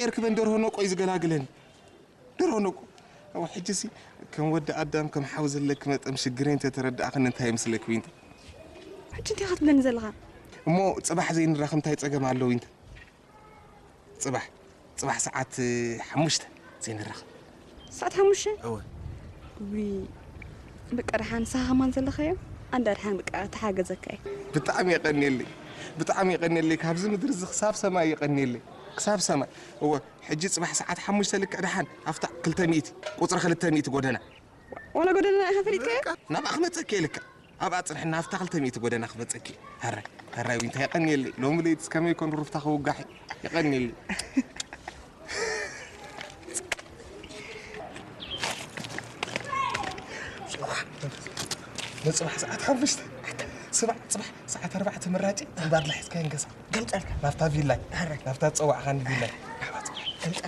ኤርክበን ደርሆ ነቆ እዩ ዝገላግለኒ። ደርሆ ነቆ። ኣብ ሕጂሲ ከም ወዲ ኣዳም ከም ሓው ዘለኪ መጠን ሽግረይ እንተተረዳእኽኒ እንታይ ይመስለኪ ዊንታ? ሕጂ እንታይ ክትብለኒ ዘለኻ? እሞ ጽባሕ ዘይንራኸብ እንታይ ጸገም ኣሎ ዊንታ? ጽባሕ ጽባሕ ሰዓት ሓሙሽተ ዘይንራኸብ። ሰዓት ሓሙሽተ? እወ። ዊ በቃ ደሓን ንስኻ ከማን ዘለኻዮ ኣንዳ ደሓን በቃ ተሓገዘካ እየ። ብጣዕሚ የቐንየለይ። ብጣዕሚ የቐንየለይ። ካብዚ ምድሪ እዚ ክሳብ ሰማይ የቐንየለይ። ክሳብ ሰማይ። እወ፣ ሕጂ ጽባሕ ሰዓት ሓሙሽተ ልክዕ ደሓን ኣብታ ክልተ ሚእቲ፣ ቁጽሪ ክልተ ሚእቲ ጎደና። ዋላ ጎደና ኢኻ ፈሊጥካዮ? ናብኣ ክመጸኪ እየ ልክዕ። ኣብኣ ጽንሕና ኣብታ ክልተ ሚእቲ ጎደና ክመጸኪ። ሃራይ፣ ሃራይ ዊንታ የቐንየለይ። ሎሚ ለይትስ ከመይ ኮን ሩፍታ ክውጋሕ የቐንየለይ። ንጽባሕ ሰዓት ሓሙሽተ ስማዕ፣ ጽባሕ ሰዓት ኣርባዕተ ምራጭ እምባር ላሒዝካ ይንገሳ ገምጠልካ ናብታ ቪላይ ናብታ ዝጸዋዕኻኒ ቪላይ